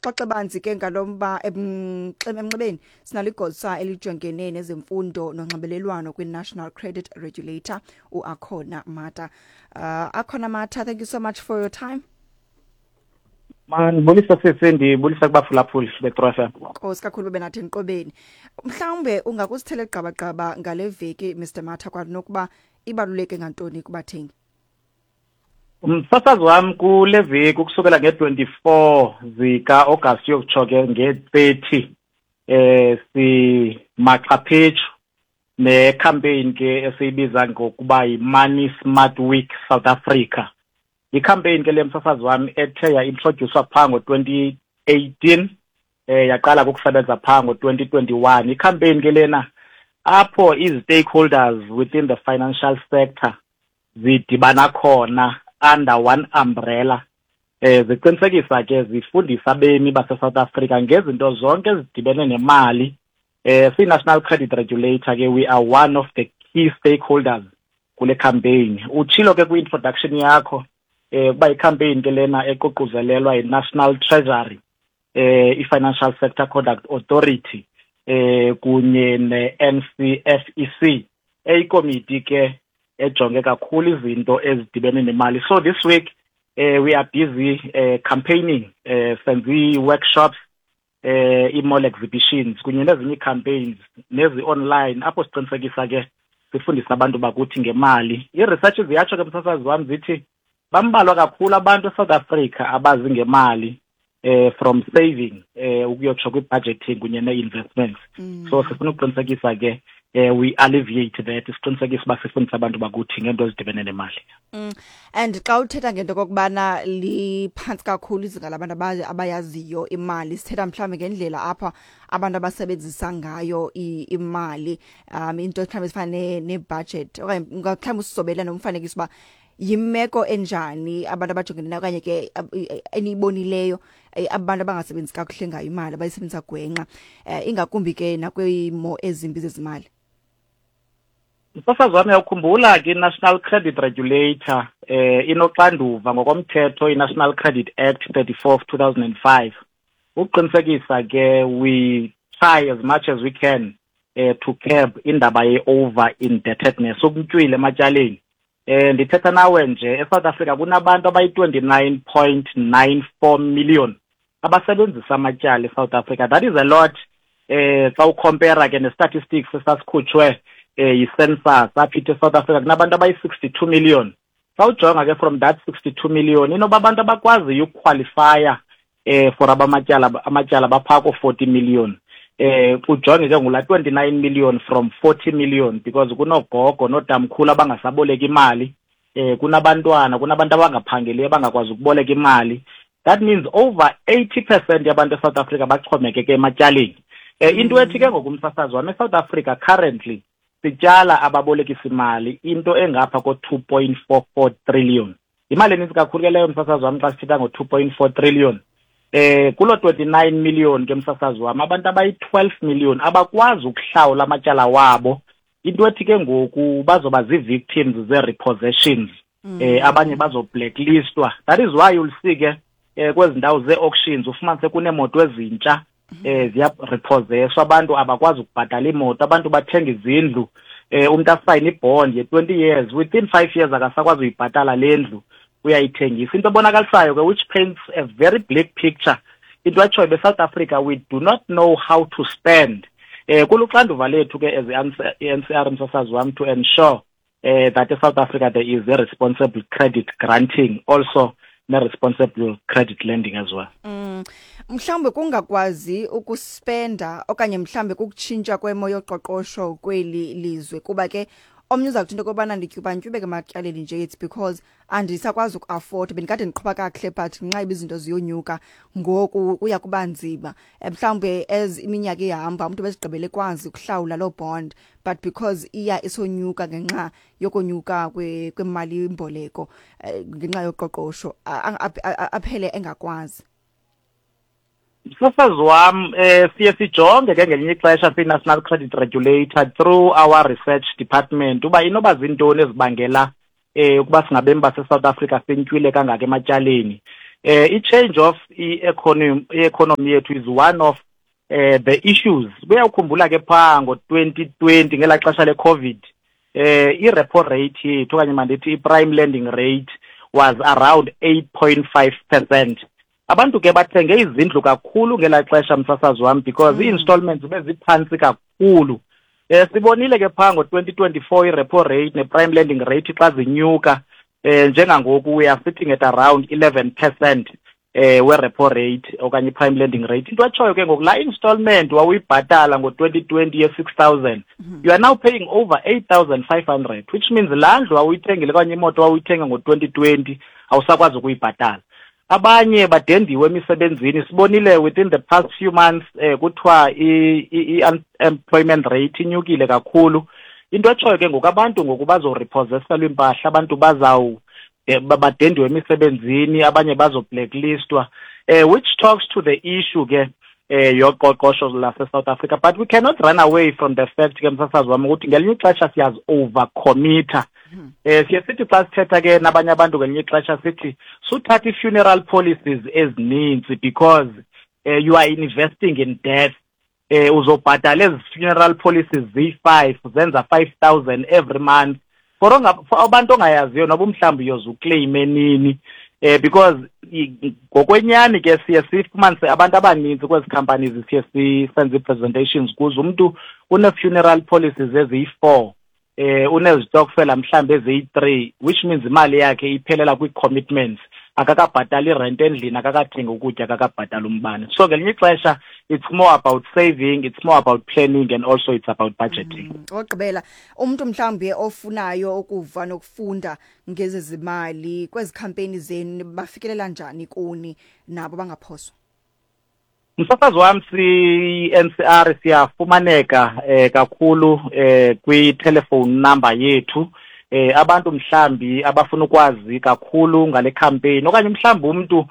Sixoxe banzi ke ngalomba emnxebeni sinalo igosa elijongene nezemfundo nonxibelelwano kwi-National Credit Regulator, uAkhona Mata. Akhona Mata, thank you so much for your time. Mandibulisa sisi, ndibulisa kubaphulaphuli beTru FM. Nkosi kakhulu benathi enqobeni. Mhlawumbe ungakusithele gqabagqaba ngale veki, Mr Mata, kwanokuba ibaluleke ngantoni kubathengi? Umsasazi wam, kule veki ukusukela nge-24 zika-August uyokutsho ke nge-30 simaxhaphetshu ne-campaign ke esiyibiza ngokuba yi-Money Smart Week South Africa. I-campaign ke le, msasazi wam, ethe ya-introducewa phaa ngo-2018, yaqala ukusebenza phaa ngo-2021. I-campaign ke lena apho izi-stakeholders within the financial sector zidibana khona under one umbrella, ziqinisekisa ke zifundisa abemi base-South Africa ngezinto zonke ezidibene nemali. Si-National Credit Regulator ke, we are one of the key stakeholders kule campaign. Utshilo ke kwi-introduction yakho kuba i-campaign ke lena eququzelelwa yi-National Treasury, i-Financial Sector Conduct Authority, kunye ne-NCFEC, eyikomiti ke ejonge kakhulu izinto ezidibene nemali. So this week we are busy campaigning, senze ii-workshops, ii-mall exhibitions kunye nezinye ii-campaigns nezi-online apho siqinisekisa ke sifundisa abantu bakuthi ngemali. Ii-research ziyatsho ke, msasazi wam, zithi bambalwa kakhulu abantu eSouth Africa abazi ngemali, from saving ukuyotsho kwi-budgeting kunye nee-investments. So sifuna ukuqinisekisa ke we alleviate that, siqinisekise uba sifundisa abantu bakuthi ngento ezidibene nemali. And xa uthetha ngento kokubana liphantsi kakhulu izinga labantu abayaziyo imali, sithetha mhlawumbi ngendlela apha abantu abasebenzisa ngayo imali, into mhlawumbi ezifana ne-budget, okanye mhlawumbi usizobela nomfanekiso uba yimeko enjani abantu abajongene nayo, okanye ke eniyibonileyo, abantu abangasebenzisi kakuhle ngayo imali, abayisebenzisa gwenxa, ingakumbi ke nakwiimo ezimbi zezimali? Msasazi wami, uyawukhumbula ke i-National Credit Regulator inoxanduva ngokomthetho i-National Credit Act 34 of 2005 ukuqinisekisa ke we try as much as we can to curb indaba ye-over indebtedness, ukuntywila ematyaleni. Ndithetha nawe nje, eSouth Africa kunabantu abayi-29.94 million abasebenzisa amatyala eSouth Africa. That is a lot xa u-compare ke ne-statistics esasikhutshwe yi-census apha ithi eSouth Africa kunabantu abayi-62 million. Xa ujonga ke from that 62 million, inoba abantu abakwaziyo uku-qualifya for abamatyala baphaa ko-40 million. Ujonge ke ngula 29 million from 40 million, because kunogogo notamkhulu abangasaboleka imali, kunabantwana, kunabantu abangaphangeliyo abangakwazi ukuboleka imali. That means over 80% yabantu eSouth Africa baxhomekeke ematyaleni. Into ethi ke ngokumsasazi wami, eSouth Africa currently sityala ababolekisi imali into engapha ko-2.44 trillion. Imali eninzi kakhulu ke leyo, msasazi wami, xa sithetha ngo-2.4 trillion. Kulo 29 million ke, msasazi wami, abantu abayi-12 million abakwazi ukuhlawula amatyala wabo, into ethi ke ngoku bazoba zii-victims zee-repossessions. Abanye bazo-blacklistwa. That is why you'll see ke kwezi ndawo zee-auctions ufumanise kuneemoto ezintsha ziya-repossesswa, abantu abakwazi ukubhatala iimoto. Abantu bathenga izindlu, umuntu asayine i-bond ye-20 years, within 5 years akasakwazi uyibhatala le ndlu, uyayithengisa. Into ebonakalisayo ke, which paints a very bleak picture, into etshoyo beSouth Africa we do not know how to spend. Kuluxanduva lethu ke as i-NCR, msasazi wam, to ensure that eSouth Africa there is a responsible credit granting, also ne-responsible credit lending as well. Mhlawumbe kungakwazi ukuspenda, okanye mhlawumbe kukutshintsha kwemo yoqoqosho kweli lizwe, kuba ke omnye uza kuthi into yokobana ndityubantyubeke ematyaleni nje, it's because andisakwazi uku-afford, bendikade ndiqhuba kakuhle, but ngenxa yoba izinto ziyonyuka ngoku kuya kuba nzima. Mhlawumbe as iminyaka ihamba umntu bezigqibele ekwazi ukuhlawula loo bond, but because iya isonyuka ngenxa yokonyuka kwemali imboleko, ngenxa yoqoqosho, aphele engakwazi. Msasazi wam, siye sijonge ke ngelinye ixesha siyi-National Credit Regulator through our research department uba inoba zintoni ezibangela ukuba singabemi base-South Africa sintywile kangaka ematyaleni. I-change of i-economy yethu is one of the issues. Kuyawukhumbula ke phaa ngo-2020, ngelaa xesha le-COVID, i-repo rate yethu, okanye mandithi i-prime lending rate, was around 8.5%. Abantu ke bathenge izindlu kakhulu ngelaa xesha, msasazi wam, because ii-installments beziphantsi kakhulu. Sibonile ke phaa ngo-2024 i-repo rate ne-prime lending rate xa zinyuka. Njengangoku we are sitting at around 11% we-repo rate okanye i-prime lending rate. Into etshoyo ke ngoku, laa installment wawuyibhatala ngo-2020 ye-6,000, you are now paying over 8,500, which means laa ndlu wawuyithengile okanye imoto wawuyithenga ngo-2020 awusakwazi ukuyibhatala. Abanye badendiwe emisebenzini. Sibonile within the past few months kuthiwa i-unemployment rate inyukile kakhulu. Into etshoyo ke ngoku, abantu ngoku bazorepossesselwa iimpahla, abantu bazawu badendiwe emisebenzini, abanye bazoblacklistwa, which talks to the issue ke yoqoqosho lase-South Africa. But we cannot run away from the fact ke, msasazi wam, ukuthi ngelinye ixesha siyazi-overcommitha. Siye sithi xa sithetha ke nabanye abantu ngelinye ixesha sithi suthatha i-funeral policies ezininzi, because you are investing in death. Uzobhatala ezi funeral policies ziyi-5, zenza 5,000 every month for abantu ongayaziyo noba mhlawumbi uyoze uclaime nini, because ngokwenyani ke siye sifumanise abantu abaninzi kwezi companies siye sisenze ii-presentations kuzo, umntu une-funeral policies eziyi-4, unezitokfela mhlawumbi eziyi-3, which means imali yakhe iphelela kwii-commitments, akakabhatali irent endlini, akakathengi ukutya, akakabhatali umbane. So ngelinye ixesha it's more about saving, it's more about planning, and also it's about budgeting. Ogqibela, umuntu mhlawumbi ofunayo ukuva nokufunda ngezezimali kwezi campaign zenu, bafikelela njani kuni nabo bangaphoswa? Msasazi wam, si-NCR siyafumaneka kakhulu kwi-telephone number yethu. Abantu mhlambi abafuna ukwazi kakhulu ngale campaign, okanye mhlambi umuntu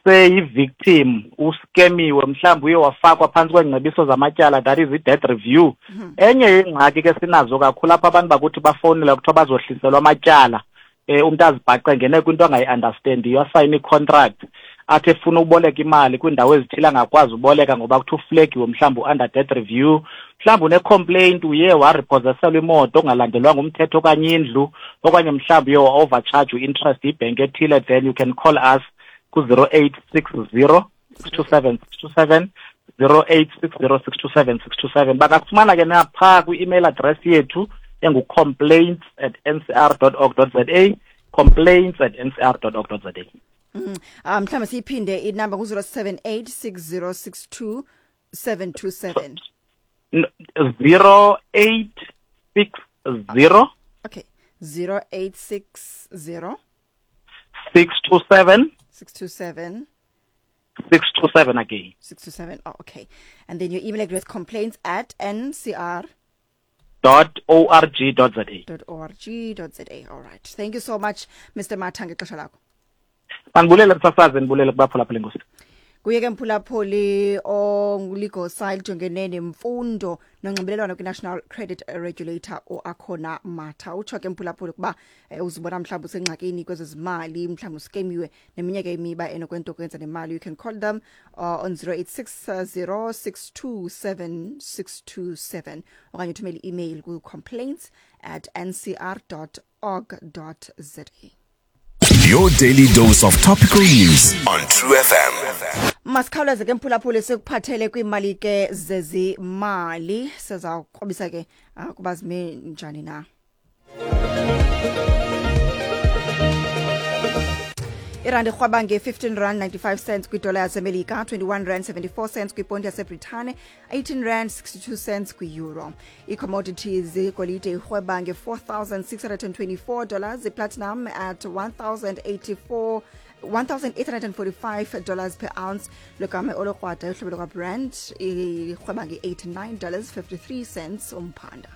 seyi-victim, uskemiwe, mhlawumbi uye wafakwa phantsi kweengcebiso zamatyala, that is i-debt review. Enye yengxaki ke sinazo kakhulu apha, abantu bakuthi bafowunela kuthiwa bazohliselwa amatyala, umntu azibhaqe ngene kwinto angayi-understandiyo, asayine i-contract, athi efuna uboleka imali kwiindawo ezithile angakwazi uboleka ngoba kuthiwa uflagiwe, mhlawumbi u-under debt review, mhlawumbi une-complaint, uye warepossesselwa imoto ongalandelwanga umthetho okanye indlu, okanye mhlawumbi uye wa-overcharge u-interest ibhenki ethile, then you can call us ku-0860 627 627, 0860 627 627. Bangakufumana ke naphaa kwi-email address yethu engu-complaints@ncr.org.za, complaints@ncr.org.za. Mhlawumbe siyiphinde inamba, ku-078 6062 727. 0860. Okay, 0860. 627. 627. 627 again. 627. Oh, okay. And then your email address, complaints@ncr .org.za. .org.za. All right, thank you so much, Mr Matha, ngexesha lakho. Mandibulele, msasazi, ndibulele kubaphulaphula, enkosi. Kuye ke mphulaphuli onguligosa elijongene nemfundo nonxibelelwano kwi-National Credit Regulator, uAkhona Matha. Utsho ke mphulaphuli ukuba uzibona mhlawumbi usengxakini kwezezimali, mhlawumbi uskemiwe neminye ke imiba enokwento kwenza nemali, you can call them on 0860 627 627 okanye uthumele i-email ku-complaints@ncr.org.za. Your daily dose of topical news on True FM. Masikhawuleze ke mphulaphuli, sikuphathele kwiimali ke zezimali. Siza kukrobisa ke kuba zime njani na. Irandi irhwaba nge-15 rand 95 cents kwidola yaseMelika, 21 rand 74 cents kwiponti yaseBritane, 18 rand 62 cents kwi-euro. I-commodities: igolide irhweba nge-$4,624, iplatinum at 1084 $1,845 per ounce, logama olukrwada uhlobo lwakwaBrent irhweba nge-$89.53 umphanda.